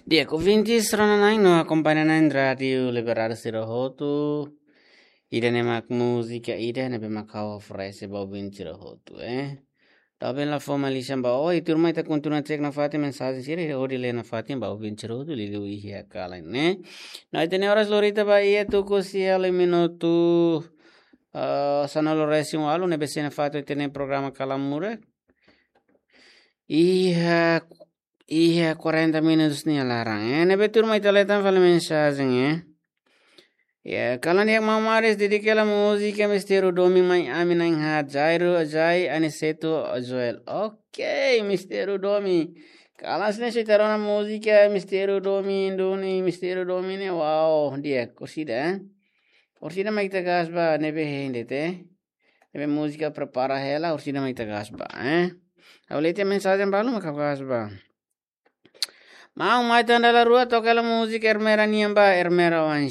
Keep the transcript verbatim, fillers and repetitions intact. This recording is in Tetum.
Di'ak, ouvintes rona-na'in no akompaña-na'in Rádiu Liberdade sira hotu. Ida-ne'e mak múzika ida ne'ebé mak ha'u oferese ba ouvinte sira hotu, eh. Talvez la fó mai lisan ba ohin, tuirmai ita kontinua cek nafatin mensajen sira, hodi lee nafatin ba ouvinte sira hotu, liuliu iha kalan ne'e. No ita-nia oras lorita ba iha tuku sia liu minutu, ah, sanulu-resin-ualu, ne'ebé sei nafatin ita-nia programa Kalan Muda. Iha, iha quarenta minutos nia laran, eh. Ne'ebé tuirmai ita lee tan fali mensajen, eh. Ya, kalan di'ak maun Maris, dedika hela múzika Mistério Domin mai ami na'in-haat, Jairo, Jai, Aniceto, Joel. Ok, Mistério Domin. Kalan sira ne'e sei ita rona múzika Mistério Domin duni, Mistério Domin ne'e, wow, di'ak, orsida, eh. Orsida mak ita gás ba, ne'ebé hein de'it, eh. Ne'ebé múzika prepara hela, orsida mak ita gás ba, eh. Ha'u lee tiha mensajen balu mak ha'u gás ba. Maun, mai tan dala rua toka hela múzika Ermera nian ba, Ermera Oan